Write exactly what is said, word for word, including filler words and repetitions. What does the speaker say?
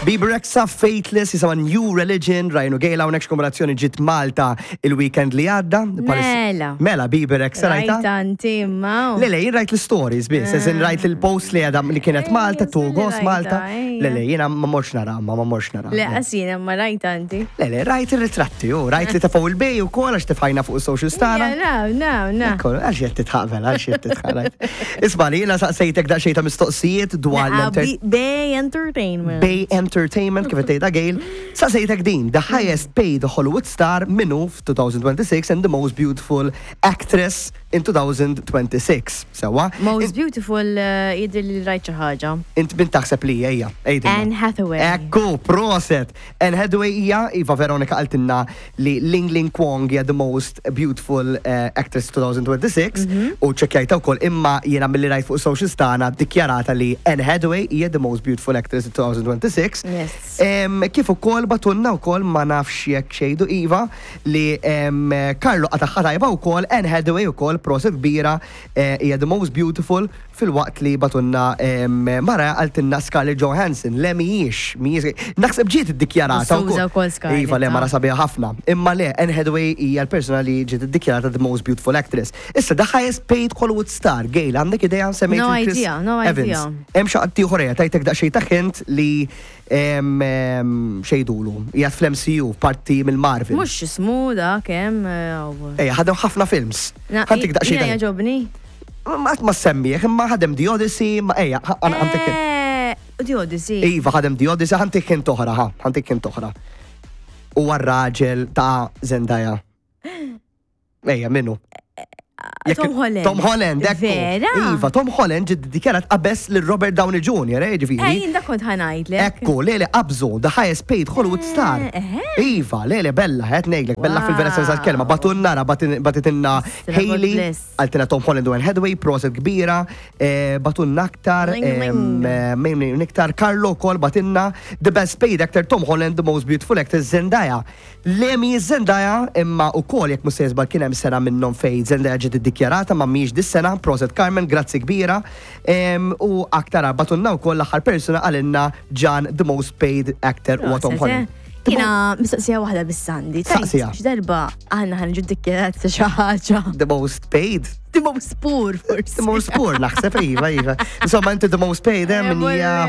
Bebe Rexha, Faithless, jisimha New Religion, Ryan u Gail hawnhekk x'kombinazzjoni ġiet Malta il-weekend li għadda. Mela. Mela, Bebe Rexha rajta? Rajta inti imma. Le, le, jien rajt l-stories biss, eżin rajt il-post li għadha li kienet Malta, Ejja, Tugos rajta, Malta. ejja. Le, le, jiena ma morx nara, ma ma morx nara. Le, qasina, ma rajta inti. Le, le, rajt il-ritratti, u rajt li tefgħu il-bej u kol għax tefajna fuq il-social tagħna. No, no, no. Ekku, għax jett titħaqbel, għax jett titħaqbel. Isma li jiena saqsejtek daqsxejn ta' mistoqsijiet dwar Naqa, l-enter- Bay Entertainment. Bay Entertainment, kif tgħidha Gail, saqsejtek din, the highest paid Hollywood star minnu f-twenty twenty-six and the most beautiful actress in twenty twenty-six. Sewa? Most beautiful uh, jidher li rajt xi ħaġa. Int min taħseb li hija? Għidilna. Anne Hathaway. Ekku, proset. Anne Hathaway hija, Iva Veronica qaltilna li Ling Ling Kwong hija the most beautiful uh, actress twenty twenty-six Mhm. u ċekkjajta wkoll imma jiena milli rajt fuq social tagħna dikjarata li Anne Hathaway hija the most beautiful actress in twenty twenty-six. Yes. Em, kif ukoll bagħtulna wkoll ma nafx jekk xejdu Iva li em, Carlo qataħħa tajba wkoll Anne Hathaway ukoll proset kbira eh, hija the most beautiful filwaqt li bagħtulna em, Mara qaltilna Scarlett Johansson le mhijiex mhijiex naħseb ġiet iddikjarata Suża wkoll Scarlett, Iva le ah. mara sabiħa ħafna. Imma le Anne Hathaway hija l-persona li ġiet iddikjarata the most beautiful actress. Issa the highest paid Hollywood star, Gail, għandek idea semmejt No lil Chris idea, no Evans. idea. Hemm xi ħadd ieħor ejja, tajtek daqsxejn ta' hint li em, em, xejdulu, qiegħed fl-M C U, parti mill-Marvel. Mhux ismu da kemm. eh, Ejja, ħadem ħafna films. Na, Ħa ntik daqsxejn Jiena ta' jogħġobni. Ma ma semmieħ, imma ħadem The Odyssey, ma ejja, ħa ntik. Eh, The Odyssey. Iva, ħadem The Odyssey, ħa ntik hint oħra, ħa, ħa ntik hint oħra. Huwa r-raġel ta' Zendaya. Ejja, minnu? Jekk- Tom Holland. Tom Holland, ekku. Vera? Iva, Tom Holland ġid dikjarat qabeż lil Robert Downey Junior, eh, ġifieri. Eh, jien da kont ħa ngħidlek. Ekku, le le qabżu, the highest paid Hollywood star. Eh, Iva, le le bella, qed ngħidlek, bella fil-vera sens tal-kelma. Bagħtulna ra, bagħtitilna Stra Hailey, God bless. qaltilna Tom Holland u Anne Hathaway, proset kbira, eh, bagħtulna aktar, Ling, ling. em, eh, min iktar, Carlo kol bagħtilna, the best paid actor Tom Holland, the most beautiful actor Zendaya. Le mi Zendaya, imma u kol jekk mhux sejjer kien hemm sena minnhom fej Zendaya ġiet iddikjarata ma mhijiex dis-sena, proset Carmen, grazzi kbira. Em, U aktar bagħtulna wkoll l-aħħar persuna qalilna John, the most paid actor huwa Tom Proset, Holland. eh. Jiena mistoqsija waħda bis-sandi. Saqsija. X'darba aħna ħa niġu ddikjarat xi ħaġa. The most paid. The most poor, forsi. The most poor, naħseb, iva, iva. Insomma, inti the most paid, eh, min Eh, hija